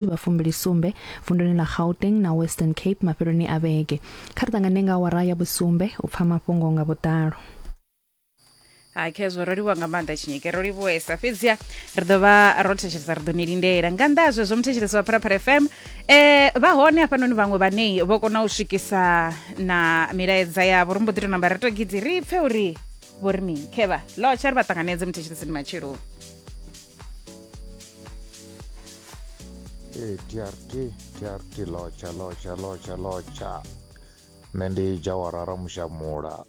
Vha 27 vunduni ḽa Gauteng na Western Cape mafheloni a vhege. Kha ri ṱangane nga awara ya vhusumbe u pfa mafhungo nga vhuḓalo. Hai khezwo ro livhuwa nga maanḓa Tshinyike, ro livhuwesa. Fhedziha ri ḓo vha ro thetshelesa, ri ḓo ni lindela. Nga nnḓa ha zwezwo muthetshelesi wa Phalaphala FM, vha hone hafhanoni vhaṅwe vhane vho kona u swikisa na milaedza yavho. Ri mbo ḓi tou namba ra tou gidzi ri pfe uri vho ri mini. Khevha, lotsha ri vha ṱanganedze muthetshelesi ndi matsheloni. Ee, TRT, TRT lotsha lotsha lotsha lotsha. Nṋe ndi Jawara Ramushamula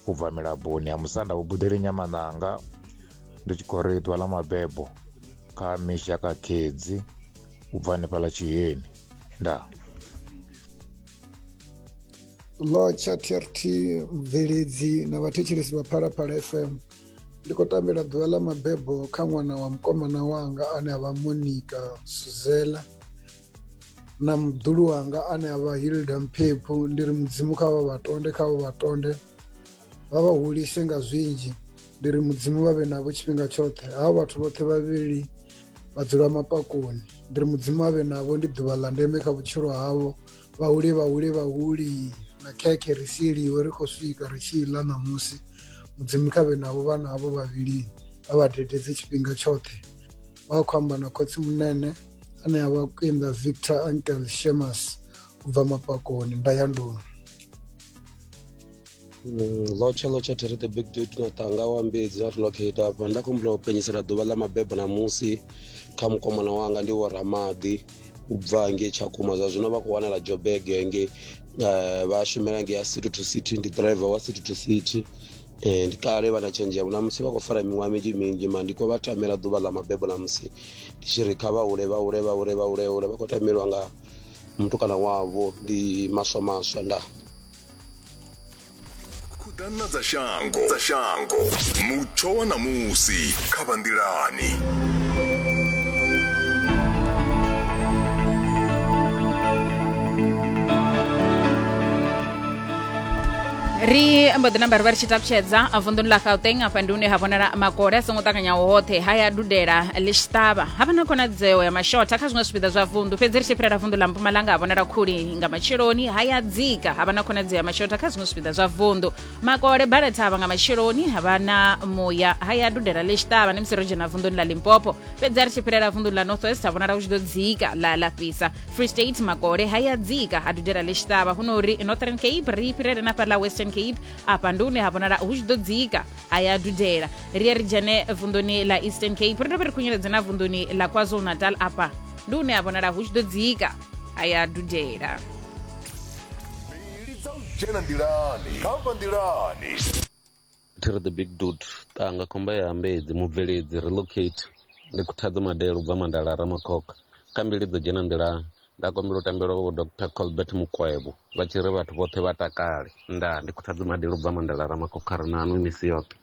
u bva Milaboni ha Musanda Vhubudeli Nyamananga ndi tshi khou ri ḓuvha ḽa mabebo kha Misha Kakhedzi u bva hanefhaḽa Tshiheni. Ndaa. Lotsha TRT mubveledzi na vhathetshelesi vha Phalaphala FM. Ndi khou tambela ḓuvha ḽa mabebo kha ṅwana wa mukomana wanga ane avha Monica Suzela na muḓulu wanga ane avha Hilda Mphephu. Ndi ri mudzimu kha vha vhatonde, kha vha vhatonde vha vha hulise nga zwinzhi. Ndi ri mudzimu vha vhe navho tshifhinga tshoṱhe. Havho vhathu vhoṱhe vhavhili vha dzula mapakoni. Ndi ri mudzimu avhe navho, ndi ḓuvha ḽa ndeme kha vhutshilo havho. Vha hule vha hule vha huli na khekhe ri sieliwe ri khou swika ri tshi ḽa ṋamusi. Mudzimu kha vhe navho vhana havho vhavhili vha vha dededze tshifhinga tshoṱhe. Vha khou amba na khotsi munene ane a vha Kwinda Victor Uncle Shemas u bva Mapakoni Ndayanduni. Lotsha lotsha thiri the big dude na tanga wa mbedzi na relocate afha nda khou humbula u penyisela ḓuvha ḽa mabebo ṋamusi kha mukomana wanga ndi wo Ramaḓi u bva ngei Tshakhuma zwa zwino vha khou wanala Joburg ngei vha shumela ngei ya city to city ndi driver wa city to city. Ndi kale vha na tshenzhemo na musi vha khou fara miṅwaha minzhi minzhi mara ndi khou vha tamela ḓuvha ḽa mabebo na musi ndi tshi ri kha vha hule vha hule vha hule vha hule hule vha khou tamelwa nga mutukana wavho ndi maswa maswa nda. Khuḓana dza shango dza shango mutsho wa ṋamusi kha vha nḓilani. Ri mbo ḓi namba ri vha ri tshi takutshedza vunḓuni ḽa Gauteng. Afha ndi hune ha vhonala makole a songo ṱanganyaho hoṱhe haya dudela ḽi tshi ṱavha, ha vha na khonadzeo ya mashotha kha zwiṅwe zwipiḓa zwa vunḓu. Fhedzi ri tshi fhirela vunḓu ḽa Mpumalanga ha vhonala khuli nga matsheloni, haya dzika ha vha na khonadzeo ya mashotha kha zwiṅwe zwipiḓa zwa vunḓu. Makole bala thavha nga matsheloni, ha vha na muya, haya dudela ḽi tshi ṱavha ni musi ro dzhena vunḓuni ḽa Limpopo. Fhedzi a ri tshi fhirela vunḓuni ḽa North West ha vhonala hu tshi ḓo dzika ḽa ḽa fhisa. Free State makole haya dzika ha dudela ḽi tshi ṱavha, hu no uri Northern Cape ri fhirele na fhaḽa Western Cape, afha ndi hune ha vhonala hu tshi ḓo dzika haya dudela. Ri ye ri dzhene vunḓuni ḽa Eastern Cape, ri dovhe ri khunyeledze na vunḓuni ḽa KwaZulu Natal, afha ndi hune ha vhonala hu tshi ḓo dzika haya dudela. Mbili dza u dzhena nḓilani kha vha nḓilani. Thi ri the big dude tanga khomba ya ambedzi mubveledzi relocate ndi Khuthadzo Madele ubva Mandala Ramakhokha kha mbili dzo dzhena nḓilani nda kombela u tambelwa vho Dr Colbert Mukwevho vha tshi ri vhathu vhoṱhe vha takale ndaa ndi Khuthadzo Madele ubva Mandala Ramakhokha ri na nwi misi yoṱhe.